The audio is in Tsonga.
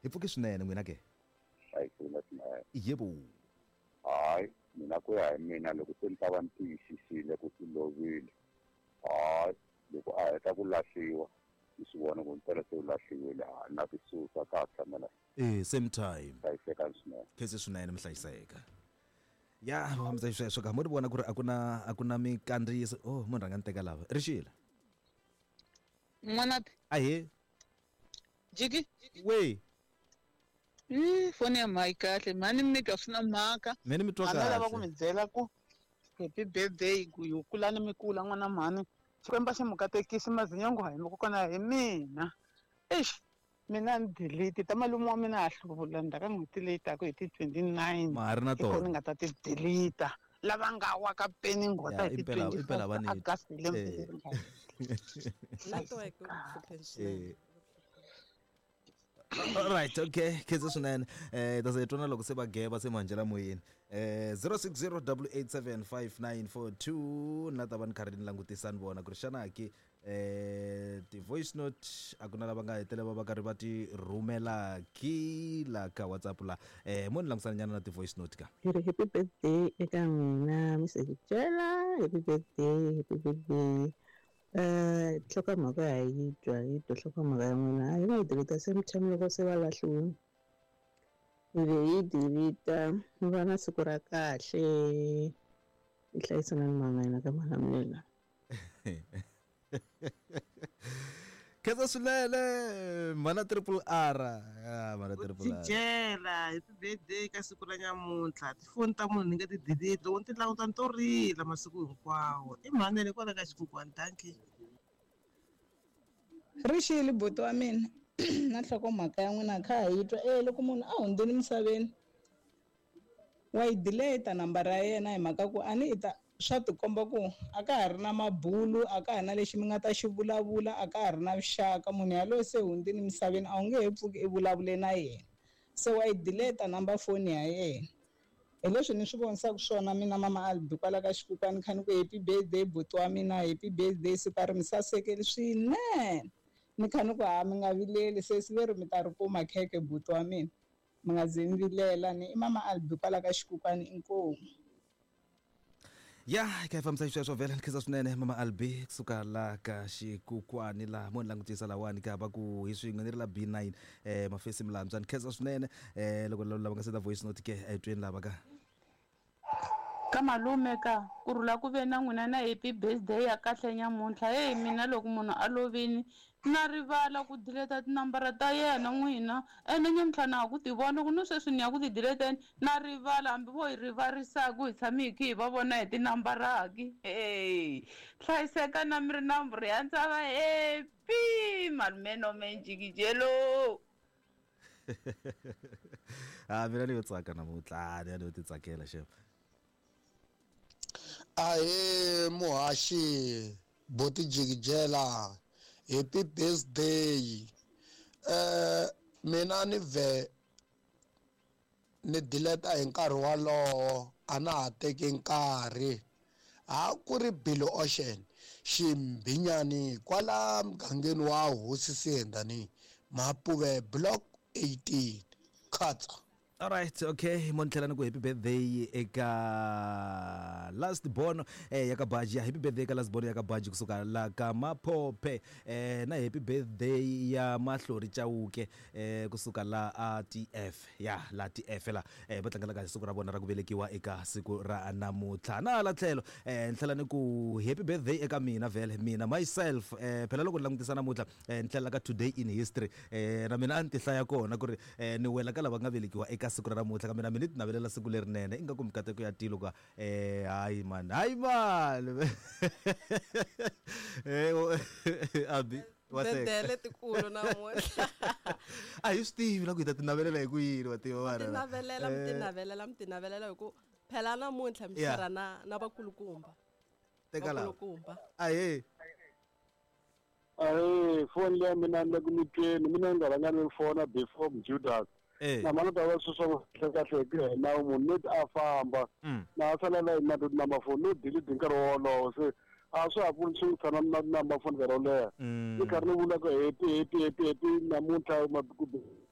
Hi pfuke swinene n'wina ke? Hlayisekile swinene. Yebo. Hayi, mina ku ya hi mina loko se ni ta va ni tiyisisile ku i lovile, hayi loko a heta ku lahliwa ni swi vona ku mpela se u lahliwile, hayi na ti susa ka ha tshamela. Eh, same time. Hlayisekani swinene. Khense swinene mi hlayiseka. Ya, va fambisa xisweswo ka mo ri vona ku ri a ku na a ku na minkandziyiso. Oh, munhu rhanga ni teka lava. Rixile. N'wanati. Ahee. Jiki. We. Foni ya mhayi kahle mhani mi twa swi na mhaka. Mina mi twa kahle. A lava ku mi byela ku happy birthday ku yo kulani mi kula n'wana mhani. Xikwembu xi mi katekisi mazinyongo hi mi kona hi mina. Eish mina ni delete ta malume wa mina ha hluvula ndzhaku ka n'hweti leyi taka hi ti 29. Ma ha ri na tona. Ni nga ta ti delete. Lava nga wa ka peni nghota hi ti 24 August lembe leri nga. Network hlupheni swinene. Alright, okay. Khensa swinene. Eh ta se twana loko se va geba se manjela moyeni. Eh 0608875942 na ta va ni karhi ni langutisa ni vona ku ri xana ki eh ti-voice note a ku na lava nga hetelela va karhi va ti rhumela ki la ka WhatsApp la. Eh mo ni langutisana nyana na ti-voice note ka. Hi ri happy birthday eka n'wina Mr Jela, happy birthday, happy birthday. Nhlokomhaka ha yi twa hi twa nhlokomhaka ya n'wina a hi nga yi delete same time loko se va lahliwile hi ve hi delete mi va na siku ra kahle hi hlayisana ni mama yena ka Malamulele. Khensa swinene mhana triple R ah, mhana triple R Jela happy birthday ka siku ra nyamuntlha tifoni ta munhu ni nge ti delete loko ni ti languta ni to rila masiku hinkwawo i mhani le kwala ka xikukwani dankie. Rixile buti wa mina na nhlokomhaka ya n'wina kha ha yi twa e loko munhu a hundzile misaveni wa yi delete nambara ya yena hi mhaka ku a ni i ta swa tikomba ku a ka ha ri na mabulu a ka ha na lexi mi nga ta xi vulavula a ka ha ri na vuxaka munhu yaloye se hundzile misaveni a wu nge he pfuki i vulavule na yena se wa yi delete number phone ya yena hi leswi ni swi vonisaka swona mina mama Albi kwala ka xikukwani kha ni ku happy birthday buti wa mina happy birthday siku a ri mi sasekeli swinene ni kha ni ku ha mi nga vileli sesi ve ri mi ta ri kuma khekhe buti wa mina mi nga ze mi vilela ni i mama Albi kwala ka xikukwani inkomu. Ya hi kha hi fambisa xisweswo vhele ni khensa swinene mama Albi kusuka la ka xikukwani laha mo ni langutisa lawani ka va ku hi swin'we ni ri la B9 eh mafesi milandzwa ni khensa swinene eh loko lava nga senda voice note ke a hi tweni lava ka Ka malume ka ku rhula ku ve na n'wina na happy birthday ya kahle nyamuntlha heyi mina loko munhu a lovini na rivala ku dileta tinambara ta yena n'wina ene nyamuntlha na ha ku ti vona ku ni sweswi ni ya ku ti dileteni na rivala hambi vo hi rivarisa ku hi tshame hi khe hi va vona hi tinambara ki heyi hlayiseka na mi ri na rhandza va happy malume nome njikijelo. Ah, mina ni yo tsaka namuntlha ni ya ni yo titsakela xem. Ahee muhaxi boti jikijela happy birthday mina ni vhe ni dileta hi nkarhi wolowo a na ha teki nkarhi ha ku ri Billy Ocean ximbhinyani kwala mugangeni wa hosi Siyendani Mapuve block 18 khatsa. Alright, okay. Mo ni tlhela ni ku happy birthday eka last born eh ya ka Baji. Ya happy birthday eka last born ya ka Baji kusuka la ka Maphophe. Eh na happy birthday ya Mahlori Chauke eh kusuka la a TF. Ya la TF la eh va tlangelaka hi siku ra vona ra ku velekiwa eka siku ra namuntlha. Na hala tlhelo eh ni tlhela ni ku happy birthday eka mina vhele mina myself eh phela loko ni langutisa namuntlha eh ni tlhela ka today in history eh na mina a ni ti hlaya kona ku ri eh ni wela ka lava nga velekiwa eka siku ra namuntlha kambe na mina ni ti navelela siku lerinene ingaku mikateko ya tilo ka eh hayi man hayi man eh abi wa seka. Birthday letikulu namuntlha a hi swi tivi la ku hi ta ti navelela hi ku yini wa tiva mi tinavelela mi tinavelela mi tinavelela hi ku phela namuntlha mi Yeah. tirha na na vakulukumba teka lava vakulukumba ahee Ahee, foni leya mina ni le ku mi tweni mina ni nga rhanga ni fona before Judas Eh. na mani ta va sweswo kahle kahle hi ku ya hi nawu munhu no a famba na a sala la na number phone no delete hi nkarhi wolowo se a swa ha pfuni swi tshama na number phone nkarhi wo leha ni karhi ni vula ku happy happy happy happy namuntlha ku